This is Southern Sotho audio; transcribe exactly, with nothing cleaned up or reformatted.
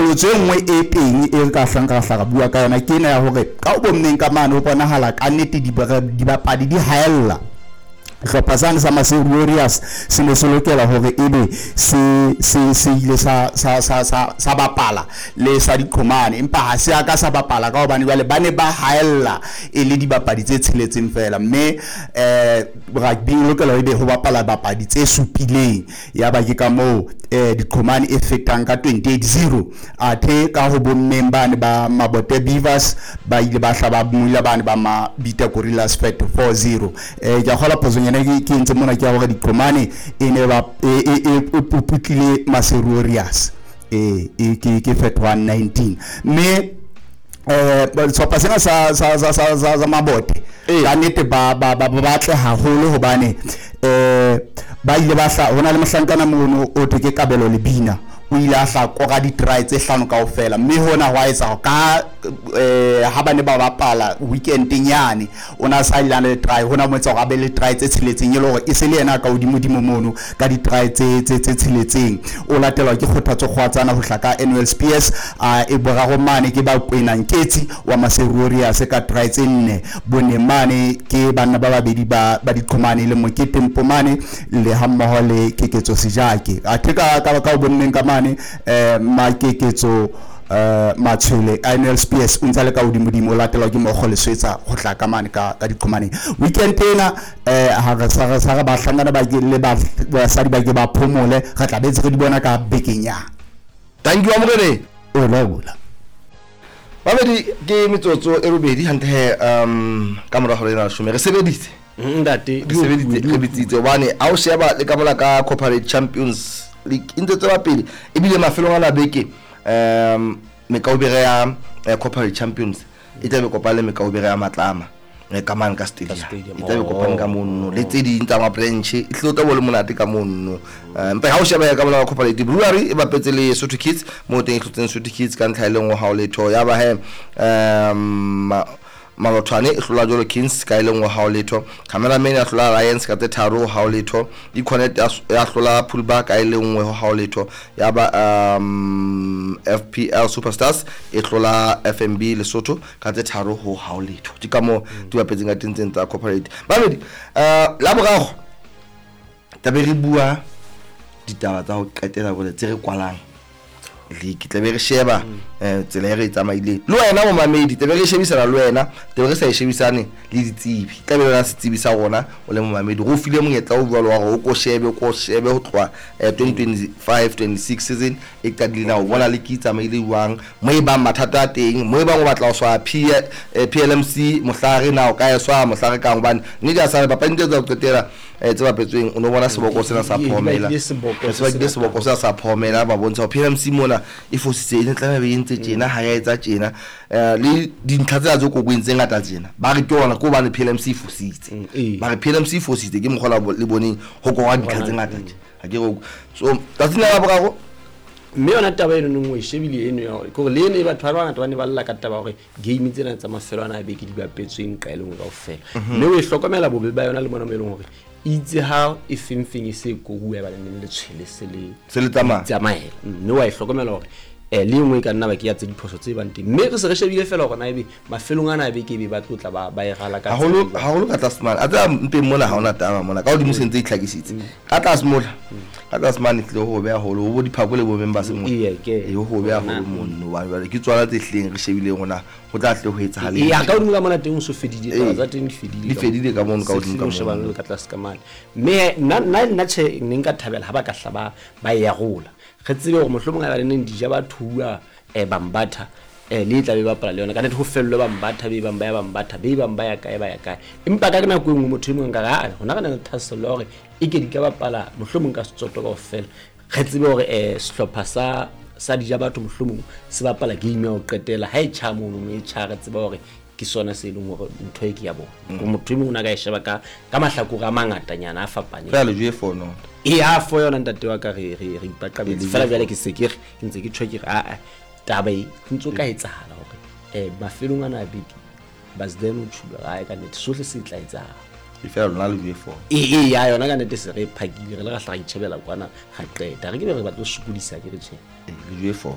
Qholotso e nngwe e teng e re ka hlang ra hla ra bua ka yona ke ena ya hore ka ho bommeng ka mane ho bonahala ka nnete dibapadi di haella. Hlopha sane sa Maseru Warriors se ne se lokela hore ebe se se se ile sa sa sa sa sa bapala le sa diqhomane, empa ha se a ka sa bapala ka hobane jwale ba ne ba haella e le dibapadi tse tsheletseng fela, mme eh rugby e lokela ebe ho bapala bapadi tse supileng. Ya ba ke ka moo eh diqhomane e fetang ka twenty-eight zero. Athe ka ho bommeng bane ba Mabote Beavers ba ile ba hlaba mula bane ba Mabita Gorillas fet four zero. Eh ke a kgola phoso nyana ke ke ntse mona ke ya hore diqhomane e ne ba e e e puputlile Maseru Warriors e e ke ke fet one nineteen. Mme eh sehlopha sena sa sa sa sa sa Mabote ka nnete ba ba ba batle haholo hobane eh ba ile ba hla hona le mohlankana mono o thwe ke Kabelo Lebina, o ile a hla kora di-try tse hlano kaofela, mme hona hwa etsa ka eh ha ba ne ba bapala weekend nyane o na sa ile le try hona mo etsa hore a be le try tse tsheletseng e le hore e se le yena ka hodimo-dimo mono ka di-try tse tse tse tsheletseng. O latelwa ke Kgothatso Kgwatsana ho hla ka Annual Spears, a e boraro mane ke ba Kwena Nketsi wa Maseru Warriors ka try tse nne, bone mane ke banna ba babedi ba ba diqhomane le Mokete Mpomane le ha mmoho le Keketso Sejake. Athe ka ka ka bonneng ka mane eh Makeketso eh Matshwele Annual Spears o ntse le ka hodimo-dimo, o latelwa ke Mokgo Leswetsa ho tla ka mane ka ka diqhomaneng. Weekend ena eh ha re sa re sa re bahlankana ba ke le ba basadi ba ke ba phomole, re tla betse re di bona ka bekeng ya. Thank you amogele. O laola. Babedi ke metsotso e robedi hantle he um ka mora hore ena leshome re sebeditse. Ntate re sebeditse re bitsitse hobane ha o sheba le ka mola ka Corporate Champions League e ntse tswela pele ebile mafelong a la beke um mekaubere ya Corporate Champions e tla be kopane le mekaubere ya Matlama ka mane ka stadium, e tla be kopane ka mono le tse ding tsa ma-branch e tlo tla bo le monate ka mono. Empa ha o sheba ka mola Corporate Brewery e bapetse le Sotho Kids mo teng e hlotseng Sotho Kids ka ntlha e le nngwe ha o letho, ya ba he um Malothwane e hlola jwalo Kings ka e le nngwe ha o letho, Cameraman ya hlola Alliance ka tse tharo ha o letho, Econet ya hlola Pulba ka e le nngwe ha o letho, ya ba um F P L Superstars e hlola F M B Lesotho ka tse tharo ho ha o letho. Ke ka moo di bapetseng ka teng tsena tsa Corporate. Babedi eh la boraro tlabe re bua ditaba tsa ho qetela bole tse re kwalang league, tlabe re sheba eh tsela e re tsamaileng le wena momamedi, tlabe re shebisana le wena, tlabe re sa e shebisane le ditsebi, tlabe re na setsebi sa rona o le momamedi, re o file monyetla o jwalo wa hore o ko shebe, o ko shebe ho tloha twenty twenty-five twenty-six season e qadile na o bona le ke tsamaile jwang, mo e bang mathata a teng, mo e bang o batla ho swa P L M C mohlare na o ka e swa mohlare kang, hobane nnete ya sa bapadi tse tsa ho qetela tse bapetsweng o no bona seboko sena sa phomela, sebakile seboko sena sa phomela ba bontsha hore P L M C mona e fositse e ne tlameha be e ntse tjena ha ya etsa tjena le dintlha tsena tse kokweng tse ngata tjena ba re ke ona ke hobane P L M C e fositse, ba re P L M C e fositse ke mokgwa le boneng ho korwa dintlha tse ngata tje ha ke re so tsatsing la boraro. Mme yona taba eno nngwe e shebile eno ya hore ke hore le eno e batho ba bangata ba ne ba lla ka taba hore game tsena tsa mafelo ana a beke di bapetsweng nqa e le nngwe kaofela, mme o e hlokomela bobe ba yona le mona mo e leng hore itse ha e feng feng e se koruwa ba neng le tshwele se le se le tsamaya tsamaela, mme wa e hlokomela hore eh le nngwe e ka nna ba ke ya tse diphoso tse bang teng, mme re se re shebile fela hore na ebe mafelong ana a beke ebe ba tlo tla ba ba e rala ka haholo haholo ka tlase mane a tseba mpeng mona ha hona taba mona ka hodimo se ntse e itlhakisitse ka tlase mola ka tlase mane tlile ho beha haholo ho bo diphako le bo members mo e ho beha haholo mono hobane ke tswala tse hleng re shebileng hona ho tla tle ho etsahala e ya ka hodimo ka mona teng o so fedile taba tsa teng di fedile di fedile ka mono ka hodimo ka mona shebana le ka tlase ka mane, mme nna nna nna tjhe ne nka thabela ha ba ka hla ba ba e arola re tsebe hore mohlomong ha ba neng dija ba thuwa eh Bambatha eh le tla be bapala le yona ka nnete ho fellwe Bambatha be bang ba ya Bambatha be bang ba ya kae ba ya kae, empa ka nako e nngwe motho e mong ka re a hona re na le thahasello ya hore e ke di ka bapala mohlomong ka Setsotho kaofela re tsebe hore eh sehlopha sa sa dija batho mohlomong se bapala game ya ho qetela ha e tjha mono e tjha re tsebe hore ke sona se leng hore ntho e ke ya bona motho e mong o na ka e sheba ka ka mahlakore a mangatanyana a fapaneng fela le jwe fono e a fo yona ntate wa ka re re re ipaqabetse fela jwale ke se ke re ke ntse ke tjho ke re a taba e ntse ka etsahala hore eh mafelong ana a beke Basden o tjhuba ga ka nnete sohle se tla etsahala e fela lona le jwe fono e e ya yona ka nnete se re phakile re le ra hla re itjhebela kwana ga qeta re ke be re batla ho sokodisa ke re tjhe le jwe fono.